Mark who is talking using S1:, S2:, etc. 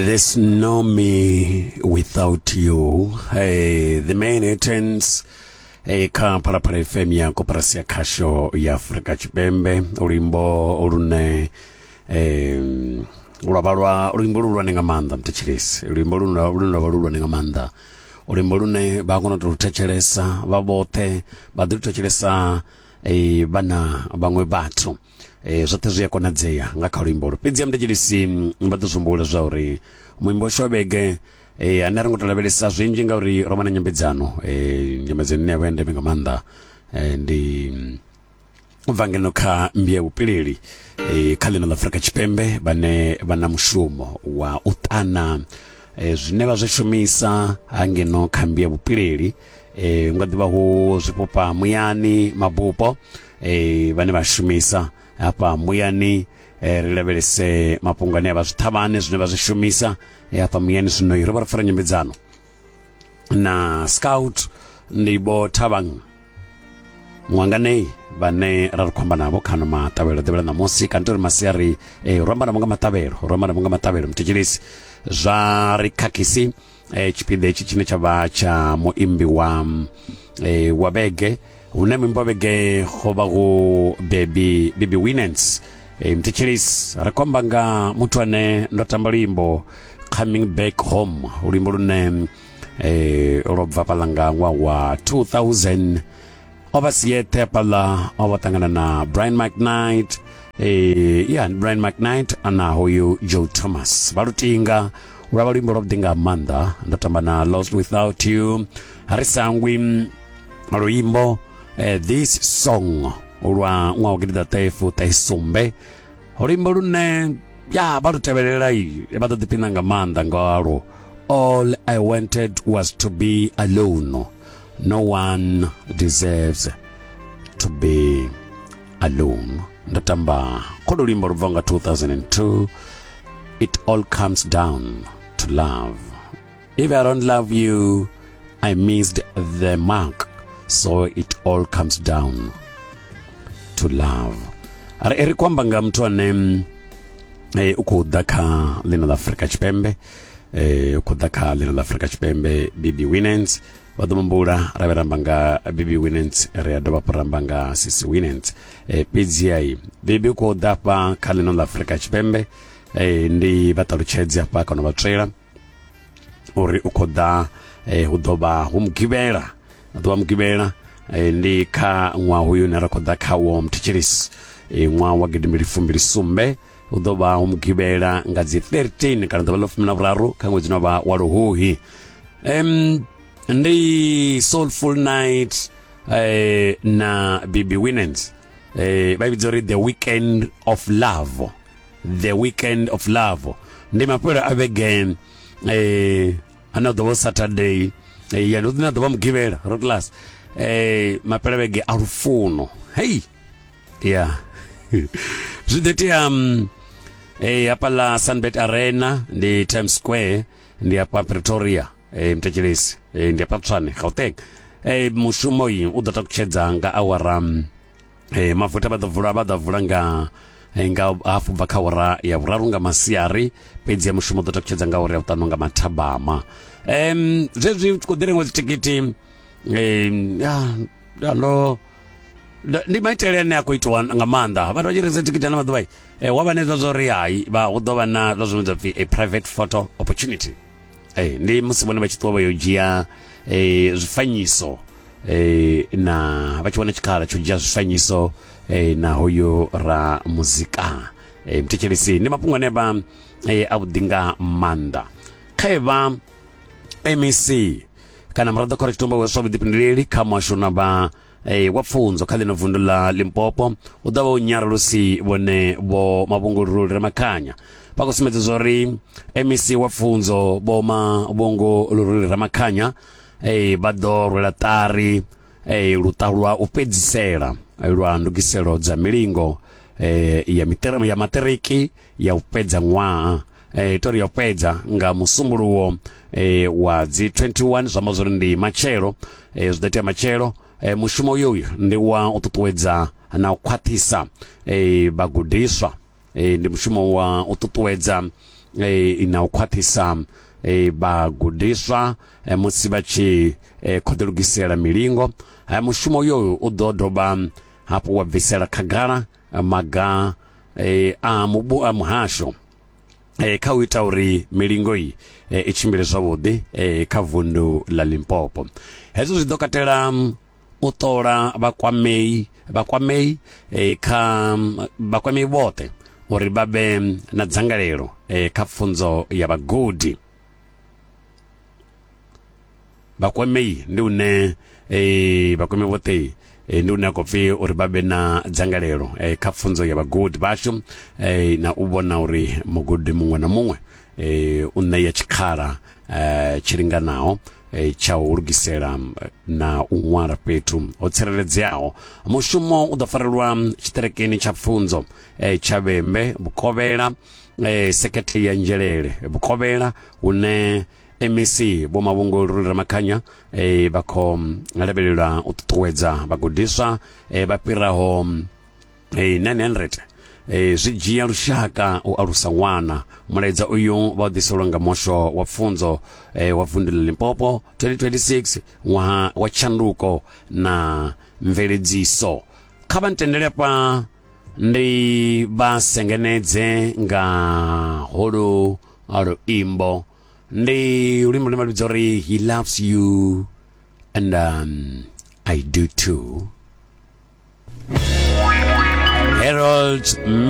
S1: There's no me without you. Hey, the main entrance hey, kha Phalaphala FM ya koporasi ya khasho ya Afrika Tshipembe luimbo lune lwa vha lwa luimbo luhulwane nga maanḓa mthetshelesi luimbo lune lwa vha luhulwane nga maanḓa luimbo lune vha kona u tou thetshelesa vha vhoṱhe vha ḓi lu thetshelesa vha na vhaṅwe vhathu e, zwoṱhe zwi a konadzea nga kha luimbo lu fhedzi mthetshelesi vha ḓo zwi humbula zwa uri muimbo washu wa vhege e, ane a ri ngo to lavhelesa zwinzhi ngauri ro vha na nyambedzano e, nyambedzano ine ya vha ya ndeme nga maanḓa e, ndi u bva ngeno kha mmbi ya vhupileli e, kha ḽino ḽa Afrika Tshipembe vhane vha na mushumo wa u ṱana e, zwine vha zwi shumisa hangeno kha mmbi ya vhupileli e, nga ḓivha hu zwifhufha muyani mabupo e, vhane vha shumisa hafha muyani e, ri lavhelese mafhungo ane a vha zwiṱhavhane zwine vha zwi shumisa e, hafha muyani zwino ro vha ro fara nyambedzano na scout ndi vho thavhang ṅwanganei vhane ra ri khou amba navho khano maṱavhelo ḓivhela ṋamusi kanti uri masiari e, ro amba navho nga maṱavhelo ro amba navho nga maṱavhelo mthetshelesi zwa ri khakhisi e, tshipiḓa hetshi tshine tsha vha tsha muimbi wa e, wa vhege hune muimbi wa vhege ho vha hu baby baby winans e, mthetshelesi ri khou amba nga muthu ane ndo tamba luimbo coming back home luimbo lune e, lwo bva fhaḽa nga ṅwaha wa 2000 o vha si yeṱhe hafhaḽa o vha ṱangana na Brian McKnight eh ya Brian McKnight ana hoyu Joe Thomas vha lutinga lwa vha luimbo lwavhuḓi nga maanḓa ndo tamba na Lost Without You ri sangwi luimbo eh, this song lwa ṅwaha wa gidiḓaṱahe fuṱahe sumbe luimbo lune ya vha lu tevhelela vha ḓo ḓiphina nga maanḓa ngalwo all I wanted was to be alone no one deserves to be alone ndo tamba kholo luimbo lu bva nga 2002 it all comes down to love if I don't love you I missed the mark so it all comes down to love ri ri khou amba nga muthu ane eh, u khou ḓa kha ḽino ḽa Afrika Tshipembe eh, u khou ḓa kha ḽino ḽa Afrika Tshipembe BB Winans vha ḓo mumbula ra vhe ramba nga BB Winans ri a dovha hafhu ramba nga Sisi Winans eh, fhedzi ai BB u khou ḓa hafha kha ḽino ḽa Afrika Tshipembe eh, ndi vha ṱalutshedzi hafha kana vha tswela uri u khou ḓa eh, hu ḓo vha hu mugivhela ḓo vha mugivhela eh, ndi kha ṅwaha hoyu une ra khou ḓa khawo mthetshelesi eh, ṅwaha wa gidimbili fumbili sumbe hu ḓo vha hu mugivhela nga dzi 13 kana ḓuvha ḽa fumi na vhuraru kha ṅwedzi no vha wa luhuhi ndi soulful night eh, na bb winans eh, vha vhidza uri the weekend of love the weekend of love ndi mafhelo a vhege eh, ane a ḓo vha saturday eh, ya ndi ḓo vha mugivhela ro class eh, mafhelo a vhege a lufuno hei ya zwi ḓo itea eh, hafhaḽa Sunbet Arena ndi Times Square ndi hafha Pretoria eh, mthetshelesi eh, ndi hafha Tshwane Gauteng eh, mushumo uyu u ḓo takutshedza nga awara eh, mafuta vha ḓo vula vha ḓo vula nga nga hafu bva kha awara ya vhuraru nga masiari fhedzi ya mushumo u ḓo takutshedza nga awara ya vhuṱanu nga mathabama zwezwi khou ḓi rengiwa dzithikhithi ya ya ndo ndi maitele ane a khou itiwa nga maanḓa vhathu vha tshi rengisa thikhithi ano maḓuvha eh, wa vha na hezwa zwa uri hai vha hu ḓo vha na zwa zwine zwa pfi a private photo opportunity eh, ndi musi vhone vha tshi ṱuwa vha yo dzhia eh, zwifanyiso eh, na vha tshi wana tshikhala tsho dzhia zwifanyiso eh, na hoyo ra muzika eh, mthetshelesi ndi mafhungo ane vha eh, a vhuḓi nga maanḓa kha vha MEC kana muraḓo khoro tshitumba wa zwa vhuḓifhinduleli kha muhasho na vha eh, wa pfunzo kha ḽino vundu ḽa Limpopo u ḓo vha u nyarulusi vhone vho Mavhungululi Ramakhanya vha khou sumbedza zwa uri MEC wa pfunzo vho Mavhungululi Ramakhanya eh, vha ḓo rwela ṱari eh, luṱa lwa u fhedzisela lwa ndugiselo dza milingo eh, ya miṱere ya maṱiriki ya u fhedza ṅwaha eh, tori ya u fhedza nga musumbuluwo eh, wa dzi 21 zwi amba zwori ndi matshelo eh, zwi ḓo itea matshelo eh, mushumo uyu ndi wa u ṱuṱuwedza na u khwaṱhisa eh, vhagudiswa eh, ndi mushumo wa u ṱuṱuwedza na u khwaṱhisa vhagudiswa musi vha tshi khou ḓilugisela milingo. Mushumo uyo u ḓo dovha hafhu wa bvisela khagala maga a mubu a muhasho kha u ita uri milingo iyi i tshimbile zwavhuḓi kha vundu ḽa Limpopo. Hezwo zwi ḓo katela u ṱola vhakwamei vhakwamei kha vhakwamei vhoṱhe uri vha vhe na dzangalelo kha pfunzo ya vhagudi. Vhakwamei ndi une vhakwamei vhoṱhe ndi une a khou pfi uri vha vhe na dzangalelo kha pfunzo ya vhagudi vhashu na u vhona uri mugudi muṅwe na muṅwe u ṋea tshikhala tshi linganaho tsha u lugisela na u ṅwala fhethu ho tsireledzeaho. Mushumo u ḓo farelwa tshiṱerekeni tsha pfunzo tsha Vhembe Vhukovhela, sekhethe ya Nzhelele Vhukovhela, hune MEC Vho Mavhungo Luruli Ramakhanya vha khou lavhelelwa u ṱuṱuwedza vhagudiswa vha fhiraho 900. Zwi dzhia lushaka u alusa ṅwana. Mulaedza uyu vha u ḓiselwa nga muhasho wa pfunzo wa vundu ḽa Limpopo 2026, ṅwaha wa tshanduko na mveledziso. Kha vha ntendele afha ndi vha sengenedze nga holu luimbo. Ndi luimbo lune vha vhidza uri He Loves You and I Do Too. Harold.